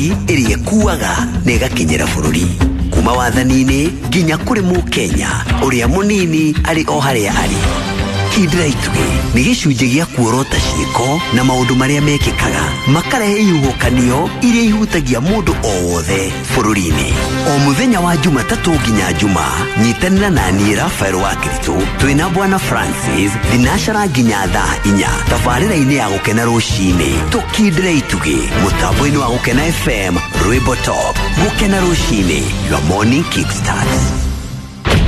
Ĩrĩa ĩkuaga na ĩgakinyĩra bũrũri kuma wathani-inĩ nginya kũrĩ mũkenya ũrĩa mũnini arĩ o harĩa arĩ. Kindĩra itugĩ nĩ gĩcunjĩ gĩa kuorota ciĩko na maũndũ marĩa mekĩkaga makarehe ihuhũkanio iria ihutagia mũndũ o wothe bũrũri-inĩ. O mũthenya wa Jumatatũ nginya Juma, nyitanĩra na niĩ Rafael wa Kiritũ twĩna Bwana Francis thinacara nginya thaa 4 tabarĩra-inĩ ya Gũkena Rũcinĩ. Tũkindĩre itugĩ mũtambo-inĩ wa Gũkena FM, Rwĩmbo Top. Gũkena Rũcinĩ, your morning kickstart.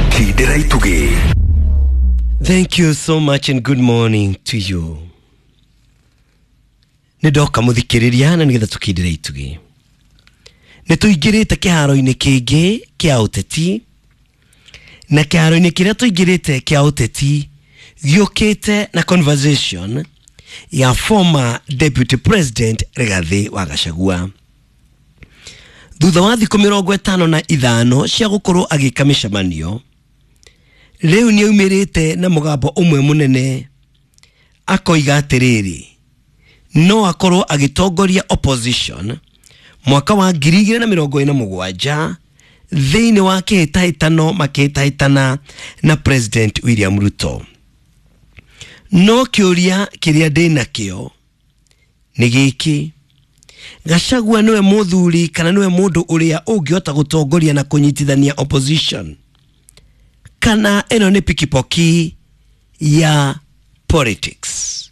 Kindĩra itugĩ. Thank you so much and good morning to you. Nĩ ndoka, mũthikĩrĩria, na nĩgetha tũkindĩre itugĩ. Nĩ tũingĩrĩte kĩharo-inĩ kĩngĩ kĩa ũteti, na kĩharo-inĩ kĩrĩa tũingĩrĩte kĩa ũteti gĩũkĩte na conversation ya former Deputy President Rigathĩ wa Gachagua thutha wa thikũ 55 cia gũkorwo agĩka mĩcemanio. Rĩu nĩ aumĩrĩte na mũgambo ũmwe mũnene, akoiga atĩrĩrĩ, no akorwo agĩtongoria opposition mwaka wa 2027 thĩinĩ wa kĩhĩtahĩtano makĩhĩtahĩtana na President William Ruto. No kĩũria kĩrĩa ndĩ nakĩo nĩ gĩkĩ: Gachagua nĩwe mũthuri kana nĩwe mũndũ ũrĩa ũngĩhota gũtongoria na kũnyitithania opposition, kana ĩno nĩ pikipoki ya politics?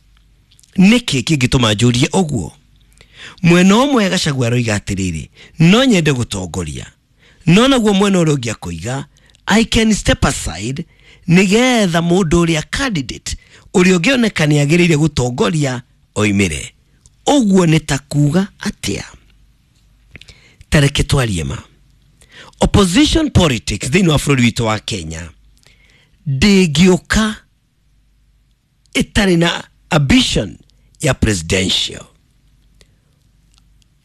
Nĩkĩ kĩngĩtũma njũrie ũguo? Mwena ũmwe Gachagua aroiga atĩrĩrĩ, no nyende gũtongoria, no naguo mwena ũrĩa ũngĩ akoiga, I can step aside nĩgetha mũndũ ũrĩa candidate ũrĩa ũngĩoneka nĩ agĩrĩire gũtongoria oimĩre. Ũguo nĩ ta kuga atĩa? Tareke twarie ma. Opposition politics thĩinĩ wa bũrũri witũ wa Kenya ndĩngĩũka ĩtarĩ na ambition ya presidential.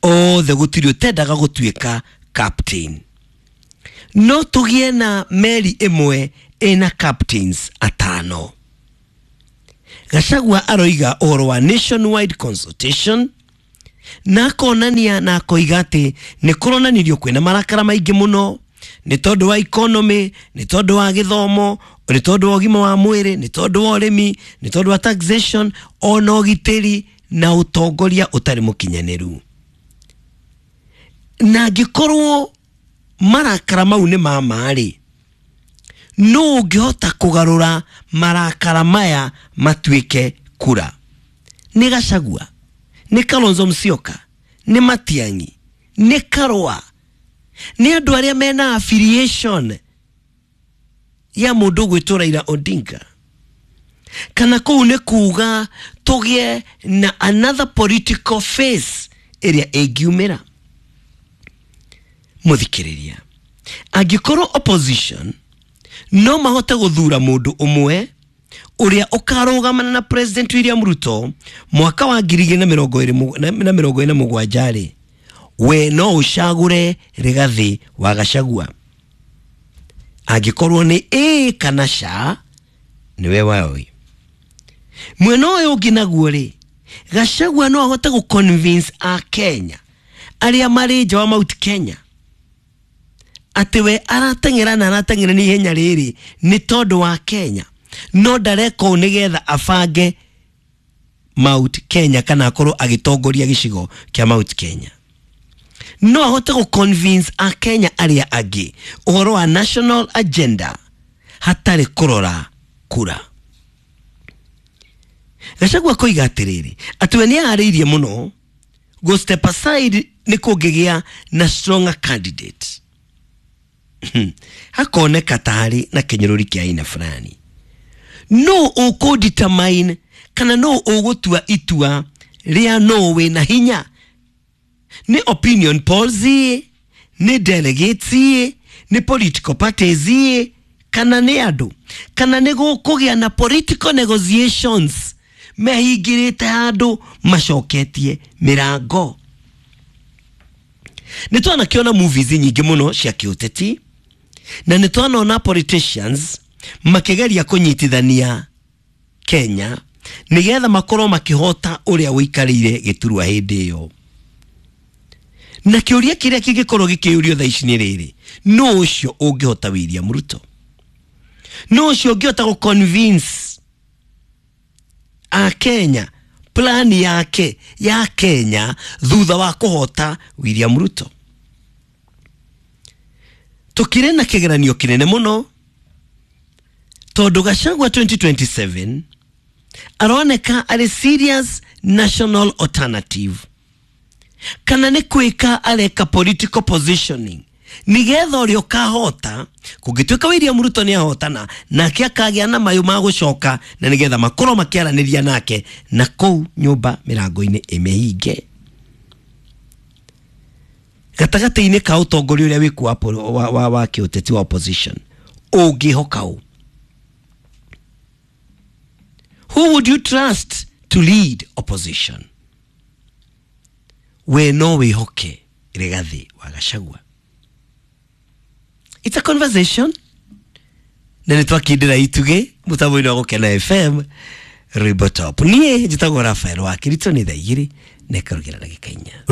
Othe gũtirĩ ũtendaga gũtuĩka captain, no tũgĩe na meri ĩmwe ĩna captains atano. Gachagua aroiga ũhoro wa nationwide consultation na akonania na akoiga atĩ nĩ kũronanirio kwĩna marakara maingĩ mũno nĩ tondũ wa economy, nĩ tondũ wa gĩthomo, nĩ tondũ wa ũgima wa mwĩrĩ, nĩ tondũ wa ũrĩmi, nĩ tondũ wa taxation, ona ũgitĩri na ũtongoria ũtarĩ mũkinyanĩru. Na angĩkorwo marakara mau nĩ ma ma-rĩ, nũ ũngĩhota kũgarũra marakara maya matuĩke kura? Nĩ Gachagua? Nĩ Kalonzo Musyoka? Nĩ Matiang'i? Nĩ Karũa? Nĩ andũ arĩa mena affiliation ya mũndũ ũgwĩtwo Raila Odinga? Kana kũu nĩ kuga tũgĩe na another political face ĩrĩa ĩngiumĩra? Mũthikĩrĩria, angĩkorwo opposition no mahote gũthura mũndũ ũmwe ũrĩa ũkarũgamana na President William Ruto mwaka wa 2027 rĩ, we no ũcagũre Rigathĩ wa Gachagua? Angĩkorwo nĩ ĩĩ kana ca, nĩwe waoi. Mwena ũyũ ũngĩ naguo rĩ, Gachagua no ahote gũ convince a Kenya arĩa marĩ nja wa Mount Kenya atĩ we arateng'era na arateng'era nĩ ihenya rĩrĩ nĩ tondũ wa Kenya, no ndareka ũũ nĩgetha abange Mount Kenya kana akorwo agĩtongoria gĩcigo kĩa Mount Kenya? No ahote gũ convince a Kenya arĩa angĩ ũhoro wa national agenda hatarĩ kũrora kura? Gachagua koiga atĩrĩrĩ, atĩ we nĩ aharĩirie mũno go step aside nĩ kũngĩgĩa na stronger candidate. Hakoneka ta harĩ na kĩnyũrũri kĩa aina fulani. No ũkũ determine kana no ũgũtua itua rĩa no wĩna hinya? Nĩ opinion polls, nĩ delegates, nĩ political parties, kana nĩ andũ, kana nĩ gũkũgĩa na political negotiations mehingĩrĩte handũ macoketie mĩrango? Nĩ twanakĩona movies nyingĩ mũno cia kĩũteti, na nĩ twanona politicians makĩgeria kũnyitithania Kenya nĩgetha makorwo makĩhota ũrĩa ũikarĩire gĩturwa hĩndĩ ĩyo. Na kĩũria kĩrĩa kĩngĩkorwo gĩkĩũrio thaa ici nĩ rĩrĩ, nũ ũcio ũngĩhota William Ruto? Nũ ũcio ũngĩhota gũ convince a Kenya plan yake ya Kenya thutha wa kũhota William Ruto? Tũkĩrĩ na kĩgeranio kĩnene mũno tondũ Gachagua 2027 aroneka arĩ serious national alternative, kana nĩ kwĩka areka political positioning nigetha ũrĩa ũkahota, kũngĩtuĩka William Ruto nĩ ahotana, nake akagĩa na mayũ ma gũcoka na nigetha makorwo makĩaranĩria nake na kũu nyũmba mĩrango-inĩ ĩmĩhinge gatagatĩ-inĩ ka ũtongoria ũrĩa wĩkuo wa kĩũteti wa opposition. Ũngĩhoka ũ? Who would you trust to lead opposition? We no wĩhoke Rigathi wa Gachagua? It's a conversation na nĩ twakindĩra itugĩ mũtambo-inĩ wa Gũkena FM, rwĩmbo top. Niĩ njĩtagwo Rafael wa Kirito. Nĩ thaa 2:04.